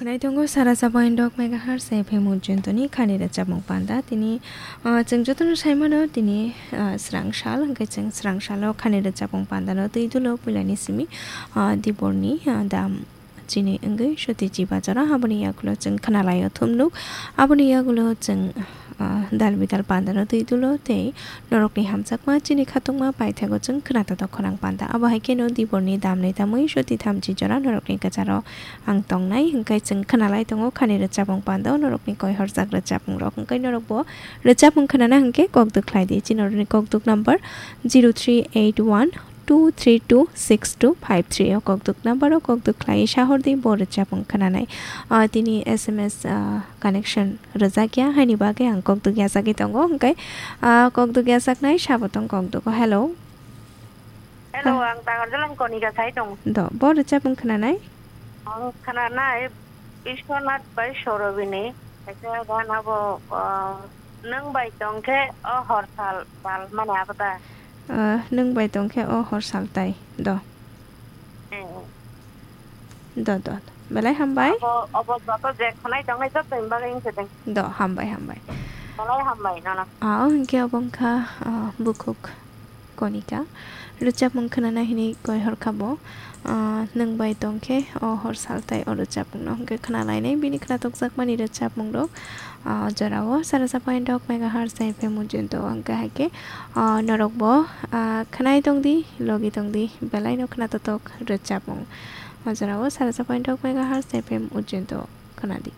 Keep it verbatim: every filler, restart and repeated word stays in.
Naitongo sara sabo indok megahertz F M Ujjayantoni khani rwchapmung panda. Tini, ah, chwng jotono saimano tini, ah, srang sal, hwnkhe chwng srang salo khani rwchapmung pandano twi dulo puilani simi, ah, diborni, ah, dam chini wngwi soti chiba jora. Aboni yagulo chwng khnalaio thumnuk. Aboni yagulo chwng, ah, dal bidal pandano twi dulo tei norokni hamjakma chini khatungma paithago chwng khna totok khorang panda. Abo hai kheno diborni damni tamwi soti thamchi jora norokni kwcharo ang tongnai, hwnkhe chwng khnalai tongo khani rwchapmung panda o norokni koi horjak rwchapmung rok. Hwnkhe norokbo rwchapmung khnana hwnkhe kok duk khlai di. Chini norokni kok duk number zero three eight one two three two six two five three o kok duk number o kok duk khlai sahor di bo rwchapmung khnanai. Ah, tini S M S, ah, connection rwjakya haini bagwi ang kok duk yachagwi tongo, hwnkhe, ah, kok duk yachaknai sabo tong kok duk o. Hello. Hello, ha. Ang Tangarjalani Konika sai tongo. Do, bo rwchapmung khnanai? Ang khnanai Biswanath bai Sorobini. Kaisa gan abo, ah, nwng bai tongkhe o horsal tal mani abo ta? Ah, nwng bai tongkhe o horsal tai. Do. Eh. Do, do, do. Belai hambai. Abo, abo joto je khwnai tongnai joto ni bagwi wngkhe de. Do, hambai, hambai. Belai hambai nono. Ah, o hwnkhe obo wngkha, ah, bukhuk Konika. Rwchapmung khnana hini koi horkha bo. Ah, nwng bai tongkhe o horsal tai o rwchapmungno hwnkhe khnalainai bini khnatokjakmani rwchapmung rok. Ah, o jorao sara sa point dok megahertz F M Ujjayanta o hwnkhe haikhe, ah, norokbo, ah, khnai tongdi, logi tongdi, belaino khnatotok rwchapmung. O jorao sara sa point dok megahertz F M Ujjayanta o khnadi.